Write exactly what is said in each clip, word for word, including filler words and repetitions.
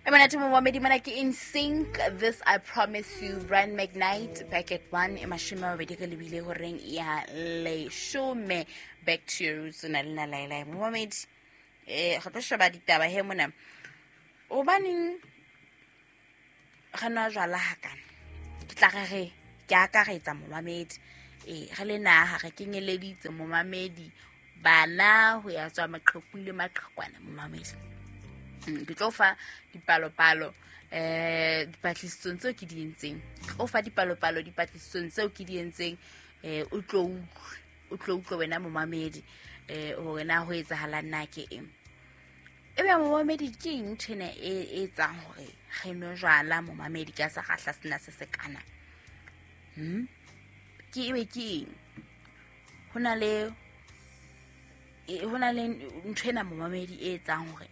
E monate momamedi, mona ke In Sync, This I Promise You, Brian McKnight. Back at one e mashome a mabedi re lebile horeng ya leshome. Back to your roots, o na le nna Laelae momamedi. um re tlo sheba ditaba he mona. Hobaneng re nwa jwala hakana? Ke tla re re ke akaretsa momamedi, ee, re le naha re kenyeleditse momamedi, bana ho ya tswa maqhekung le maqhekwana momamedi. Mm, ke tlo fa dipalopalo eh dipatlisisong tseo ke di entseng, ke tlo fa dipalopalo dipatlisisong tseo ke di entseng, eh o tlo utlwe, o tlo utlwe wena momamedi, eh hore na ho etsahalang na ke eng. Ebe momamedi, ke eng ntho ena e e etsang hore re nwe jwala momamedi ka sekgahla sena se sekana? hmm ke ebe ke eng? Ho na le e- ho na le ntho ena momamedi e etsang hore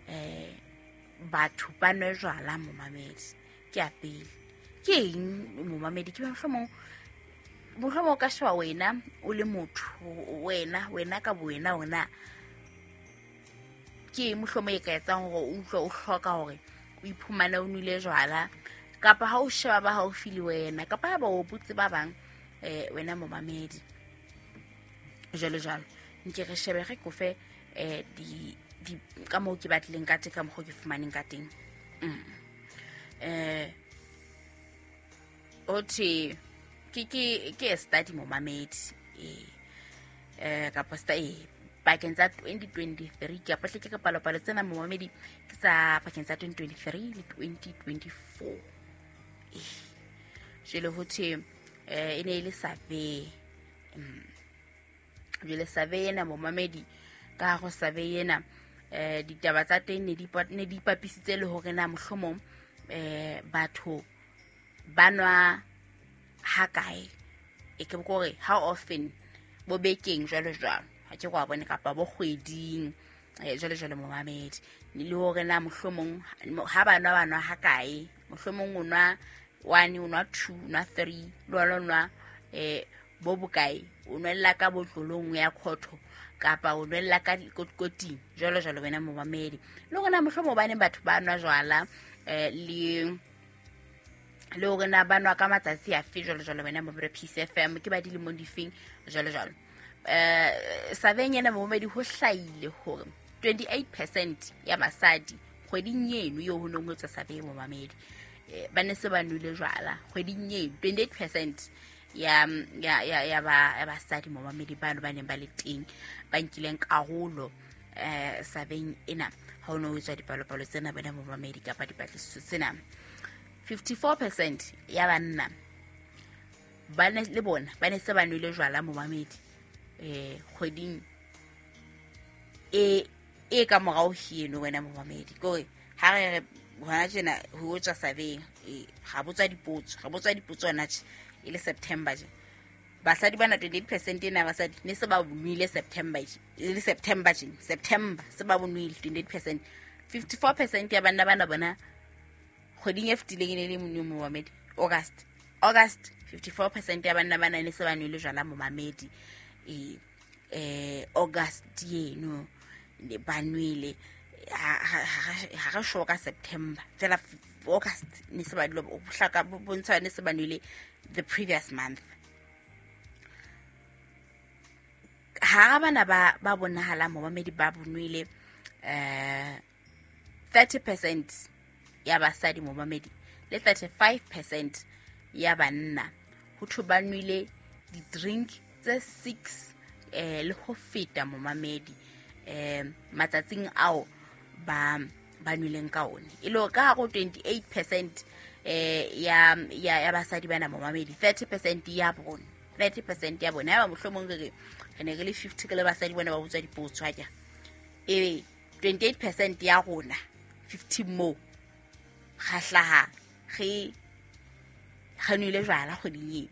eh batho ba nwe jwala momamedi. Ke ya pele, ke eng momamedi? Ke mohlomong mohlomong o ka sheba wena o le motho, wena wena ka bo wena, ona ke eng mohlomong e ka etsang hore o utlwe o hloka hore o iphumane o nwele jwala, kapa ha o sheba ba haufi le wena, kapa ha ba o botse ba bang, eh wena momamedi, jwalo jwalo. Nke re shebe, re kofe eh di di ka moo ke batlileng ka teng, ka mokgwa ke fumaneng ka teng. mm. eh o thwe ke ke ke a study momamedi, eh eh kapa sta eh pakeng tsa twenty twenty-three, ke apatle ke palopalo tsena momamedi, ke tsa pakeng tsa twenty twenty-three le twenty twenty-four. Eh jwale ho thwe eh e ne e le survey. mm. Jwale survey ena momamedi, ka ho survey ena eh ditaba tsa teng ne di ne di ipapisitse le hore na mohlomong eh batho ba nwa ha kae, e ke kore how often, bo bekeng, jwalo jwalo, ha ke kwa bone, kapa bo kgweding, eh jwalo jwalo momamedi, le hore na mohlomong ha ba nwa, ba nwa ha kae. Mohlomong o nwa one, o nwa two, o nwa three, le wena o nwa eh bo bokae, o nwella ka botlolong ya khotho kapa o nwella ka koting, jwalo jwalo wena momamedi, le hore na mohlomong hobaneng batho ba nwa jwala, eh le le hore na ba nwa ka matsatsi afe, jwalo jwalo wena momamedi. Peace F M, ke ba dilemong difeng, jwalo jwalo. eh surveying ena momamedi, ho hlahile hore twenty-eight percent ya basadi kgweding eno eo ho nong ho etswa survey momamedi, eh, ba ne se ba nwele jwala kgweding eno. twenty-eight percent ya ya ya ya ba ya basadi momamedi, bano ba neng ba le teng, ba nkileng karolo eh surveying ena ha ho no ho etswa dipalopalo tsena bona momamedi, kapa dipatlisiso tsena. fifty-four percent ya banna ba ne le bona ba ne se ba nwele jwala momamedi eh kgweding e e ka morao heno wena momamedi. Kore ha re re hona tjena ho tswa survey, e ga botswa dipotso, ga botswa dipotso hona tje e le September je, basadi bana, twenty-eight percent ena ya basadi ne se ba bonwile September je, e le September je, September se ba bonwile twenty-eight percent. fifty-four percent ya banna bana bona kgweding e fetileng e ne le monwe momamedi, August August fifty-four percent ya banna bana ne se ba nwele jwala momamedi, e eh August eno ne ba nwele. Ha ha re sure ka September, fela August ne se ba dilo hlaka bontsha ne se ba nwele the previous month. Hara bana ba ba bonahalang momamedi ba bonwele, eh thirty percent ya basadi momamedi le thirty-five percent ya banna, ho thwe ba nwele di-drink tse six eh le ho feta momamedi, eh matsatsing ao ba ba nweleng ka one. E le ka hare ho twenty-eight percent eh ya ya ya basadi bana momamedi, thirty percent ya bona, thirty percent ya bona, ya ba mohlomong re re re ne re le fifty ke le basadi bona ba botswa dipotso, ha ke e twenty-eight percent ya rona fifty mo ga hlaha re re nwele jwala kgweding eno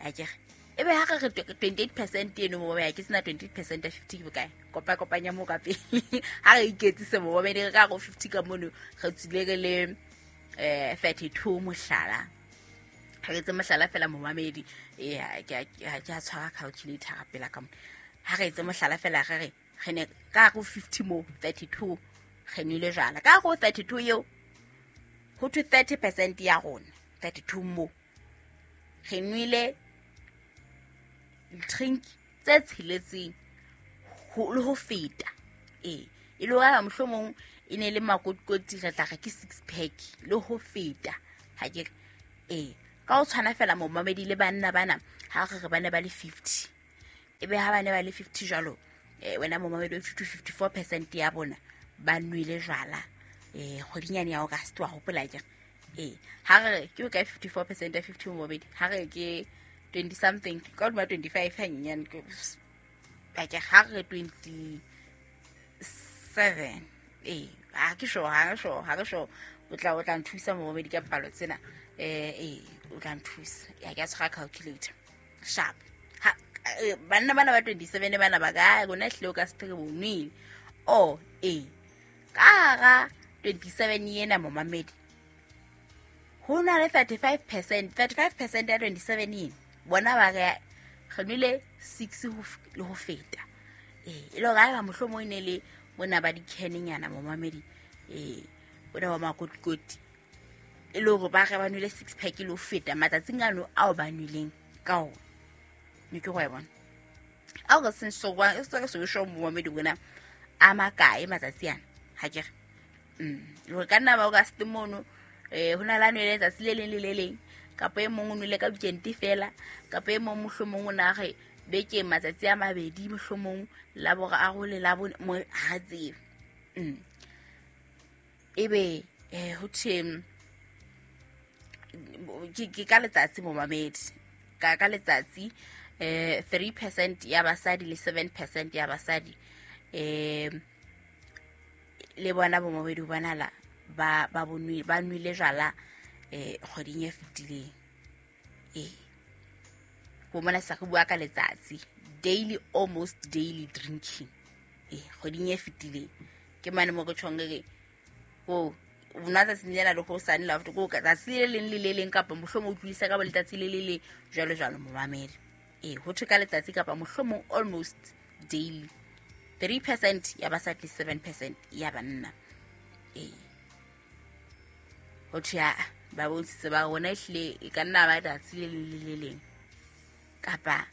akere. Ebe ha re re twenty-eight percent eno mo ya ke sena twenty-eight percent ya fifty ke bokae? Kopa kopanya mo ka pele, ha re iketsise momamedi, re ka go fifty ka mono re tswile re le eh thirty-two, mohlala, ha re etse mohlala fela momamedi, eh ke ha ke a tshwara calculator ka pela ka mo. Ha re etse mohlala fela, re re re ne ka go fifty mo thirty-two re nwele jwala. Ka go thirty-two eo ho thwe thirty percent ya rona, thirty-two mo re nwele drink tse tsheletseng ho le ho feta. Ee, e le hore mohlomong e ne le makotikoti re tla re ke six pack le ho feta. Ha ke re ee, ka ho tshwana fela momamedi le banna bana ha re re bana ba le fifty, ebe ha bana ba le fifty jwalo, eh wena momamedi o fifty fifty-four percent ya bona ba nwele jwala eh kgwedinyane ya August wa hopola ke. Ee, ha re ke ka fifty-four percent ya fifty momamedi, ha re ke twenty something ka hodima twenty-five hanyenyane ke ke ha re twenty-seven. Ee, ha ke sure, ha ke sure, ha ke sure o tla o tla nthusa momamedi ka palo tsena. Eh ee, o tla nthusa. Ya ke a tshwara calculator sharp. Ha banna bana ba twenty-seven bana ba ka rona hlile o ka se re bonwile. Oh ee, ka hara twenty-seven yena momamedi ho na le thirty-five percent, thirty-five percent ya twenty-seven yena bona ba re re nwele six ho le ho feta. Ee, e le hore haeba mohlomong e ne le bona ba di-can-nyana momamedi, ee bona ba makotikoti, e le hore ba re ba nwele six pack le ho feta matsatsing ano ao ba nweleng ka ona. Ne ke go e bona. Ao re seng so wa se re so sho momamedi bona a makae matsatsi ana ha ke re. Mm, le hore ka nna ba o ka se mono eh ho na la nwele letsatsi le leng le le leng, kapa e mong o nwele ka weekend fela, kapa e mong mohlomong o na re beke matsatsi a mabedi mohlomong la boraro le la bone mo ha tsebe. Mm. Ebe eh ho thwe ke ke ka letsatsi momamedi, ka ka letsatsi eh three percent ya basadi le seven percent ya basadi eh le bona bomamedi bona la ba ba bonwe ba nwele jwala eh kgweding e fetileng. Eh go mona sa go bua ka letsatsi, daily, almost daily drinking. Eh kgweding e fetileng ke mane mo go tshong re go una tsatsi lena le go sane la go ka tsatsi le leng le le leng kapa mohlomong o utlwisa ka bo letsatsi le le le jwalo jwalo momamedi. Eh ho thwe ka letsatsi kapa mohlomong almost daily, three percent ya basadi le seven percent ya banna. Eh ho thwe ba bontshitse ba rona ehlile e ka nna ba letsatsi le leng le le leng kapa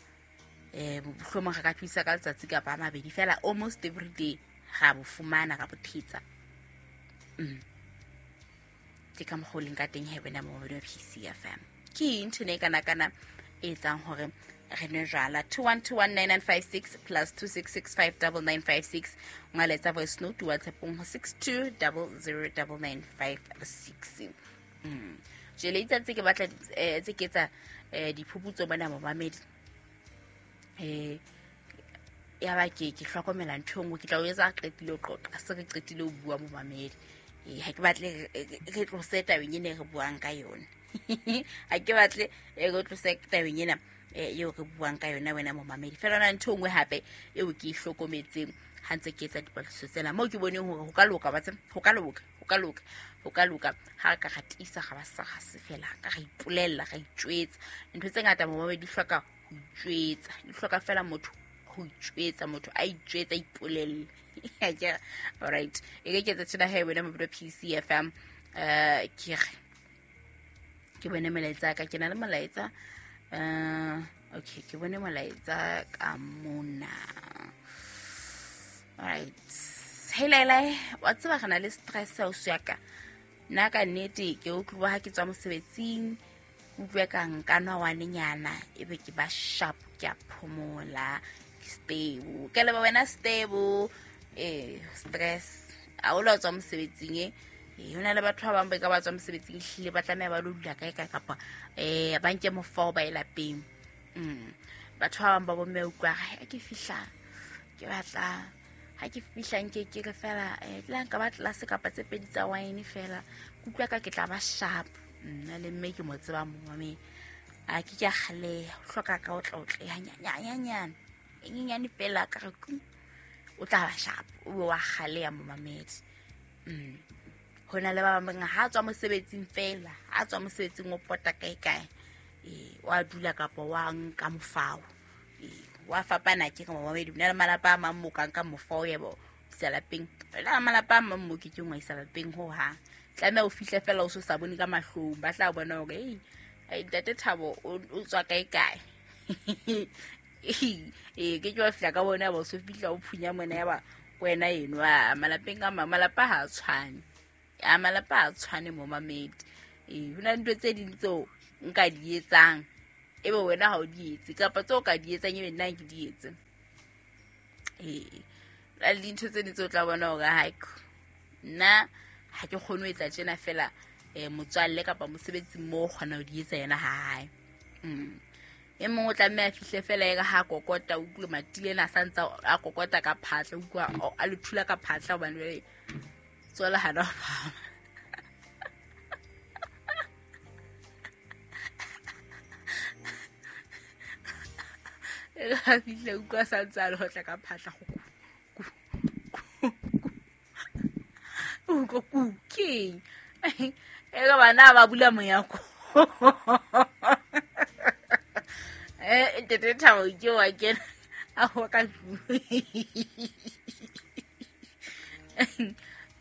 eh mohlomong re ka thusa ka letsatsi kapa a mabedi fela, almost every day ra bo fumana ra bo thetsa. Mm. Ke ka mokgwa o leng ka teng he wena momamedi wa P C F M. Ke eng ntho e kana kana e etsang hore re nwe jwala? two one two one nine nine five six plus two six six five nine nine five six. Ngaletsa voice note WhatsApp-ong ho six two zero zero nine nine five six. Mm. Jele itse tse ke batla eh tse ke tsa eh diphuputso bona momamedi. Eh ya ba ke ke hlokomela ntho nngwe ke tla o etsa qetile o qoqa se re qetile o bua momamedi. Eh ha ke batle re tlose tabeng ena re buang ka yona. Ha ke batle re tlose tabeng ena eo re buang ka yona wena momamedi. Fela na ntho nngwe hape eo ke e hlokometseng ha ntse ke etsa dipatlisiso tsena moo ke boneng hore ho ka loka ba tse ho ka loka ho ka loka ho ka loka ha re ka re tiisa ga ba sa ga se fela ka re ipolella ra itjwetsa ntho tse ngata momamedi di hloka ho itjwetsa, di hloka fela motho ho itjwetsa, motho a itjwetsa ipolelle. All right, e ke ketsa tjena he wena mo P C F M eh ke re ke bone molaetsa ka ke na le molaetsa eh okay ke bone molaetsa ka mona. All right, hey Laila, wa tseba re na le stress o se ya ka nna ka nnete ke utlwa ha ke tswa mosebetsing utlwe ka nka nwa wanenyana ebe ke ba sharp ke a phomola ke stable ke leba wena stable eh stress a o la tswa mosebetsing e eh hona le batho ba bang ba ka ba tswa mosebetsing hlile ba tlameha ba lo dula kae kae kapa eh ba nke mofao ba elapeng. Mm batho ba bang ba bomme utlwa ha ke fihla ke batla ha ke fihla nke ke re fela eh tla nka ba tlase kapa tse pedi tsa wine fela kutlwa ka ke tla ba sharp nna le mme ke mo tseba momame a ke ke kgale hloka ka o tla o tle hanyanyanyana e nyenyane fela ka re ku o tla ba sharp o wa kgale ya momamedi. Mm hona le ba bang ha tswa mosebetsing fela ha tswa mosebetsing o pota kae kae eh wa dula kapa wa nka mofao eh wa fapana ke re momamedi na le malapa a mang mo ka nka mofao yebo Isa lapeng. La malapa a mang mo ke keng wa isa lapeng ho hang. Tlameha o fihle fela o so sa bone ka mahlong. Ba tla bona hore ei, ai ntate Thabo o o tswa kae kae. Ee, ke ke wa fihla ka bona ba o so fihla o phunya mona ya ba wena eno. A malapeng a mang malapa ha a tshwane. A malapa ha a tshwane momamedi. Ee, ho na le ntho tse ding tseo nka di etsang ebe wena ha o di etse, kapa tseo ka di etsang ebe nna ke di etse. Ee, la le dintho tse ding tseo o tla bona hore hai, nna ha ke kgone ho etsa tjena fela, eh, motswalle kapa mosebetsi mo o kgona ho di etsa yena ha hae. Mm. E mong o tlameha a fihle fela e re ha kokota, o utlwe matile ena a sa ntse a kokota ka phatla, o utlwa a le thula ka phatla hobane jwale tswala hana ho phahama. E re ha fihle o utlwa a sa ntse a le hotla ka phatla, go ku, ku, ku, ku. O utlwa ku, keng? E re bana ba bula monyako. Eh, ntate Thabo ke wa kena a ho ka tlung.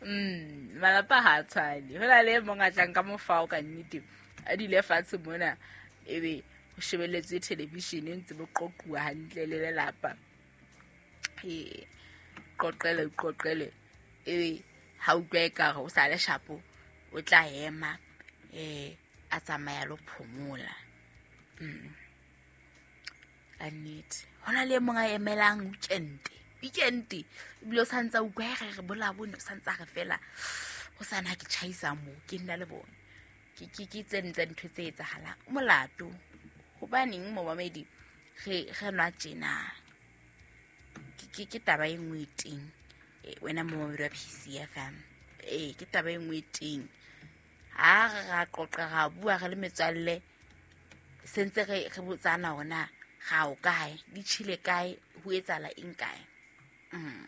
Mm, malapa ha a tshwane. Ho na le e mong a tlang ka mofao ka nnete, a dule fatshe mona, ebe ho shebelletswe television e ntse bo qoquwa hantle le lelapa. Ee, qoqele, qoqele. Ebe ha utlwa ekare o sa le shapo, o tla ema, eh, a tsamaya lo phomola. Mm. Ka nnete. Ho na le e mong a emelang weekend. Weekend, ebile o sa ntse a utlwa e re re bolabone, o sa ntse a re fela, ho sana ha ke tjhaisa moo, ke nna le bona. Ke, ke, ke tse ding tsa dintho tse etsahalang. Molato. Hobaneng momamedi re, re nwa tjena? Ke, ke, ke taba e nngwe e teng. Eh, wena momamedi wa P C F M. Eh, ke taba e nngwe e teng. Ha re ra qoqa, ra bua re le metswalle, se ntse re, re botsana hore na ga o kae, di tjhele kae, ho etsahala eng kae. Mm.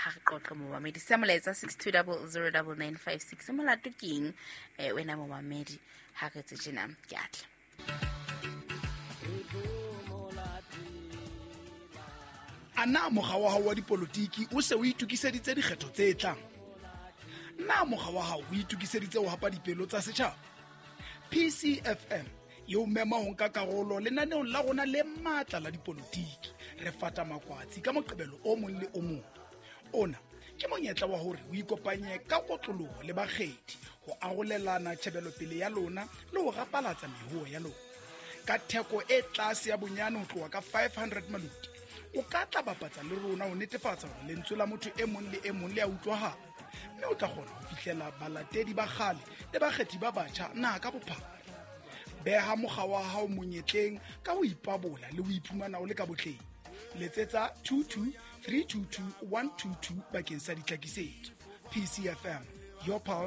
Ha re qoqe momamedi. Se molaetsa six two double zero double nine five six. Molato ke eng, eh, wena momamedi? Ha re tse tjena, ke a tla. A na mokga wa hao wa dipolotiki o se o itokiseditse dikgetho tse tlang? Na mokga wa hao o itokiseditse ho hapa dipelo tsa setjhaba? P C F M e o mema ho nka karolo lenaneong la rona le matla la dipolotiki. Re fata makwatsi ka Moqebelo o mong le o mong. Ona ke monyetla wa hore o ikopanye ka kotloloho le bakgethi ho arolelana tjhebelopele ya lona le ho rapalatsa mehoho ya lona. Ka theko e tlase ya bonyane ho tloha ka five hundred maluti, o ka tla bapatsa le rona ho netefatsa hore lentswe la motho e mong le e mong le a utlwahala, mme o tla kgona ho fihlela balatedi ba kgale le bakgethi ba batjha naha ka bophara. Beha mokga wa hao monyetleng ka ho ipabola le ho iphumana o le ka botleng. Letsetsa two two three two two one two two bakeng sa ditlhakisetso. P C F M, your pulse,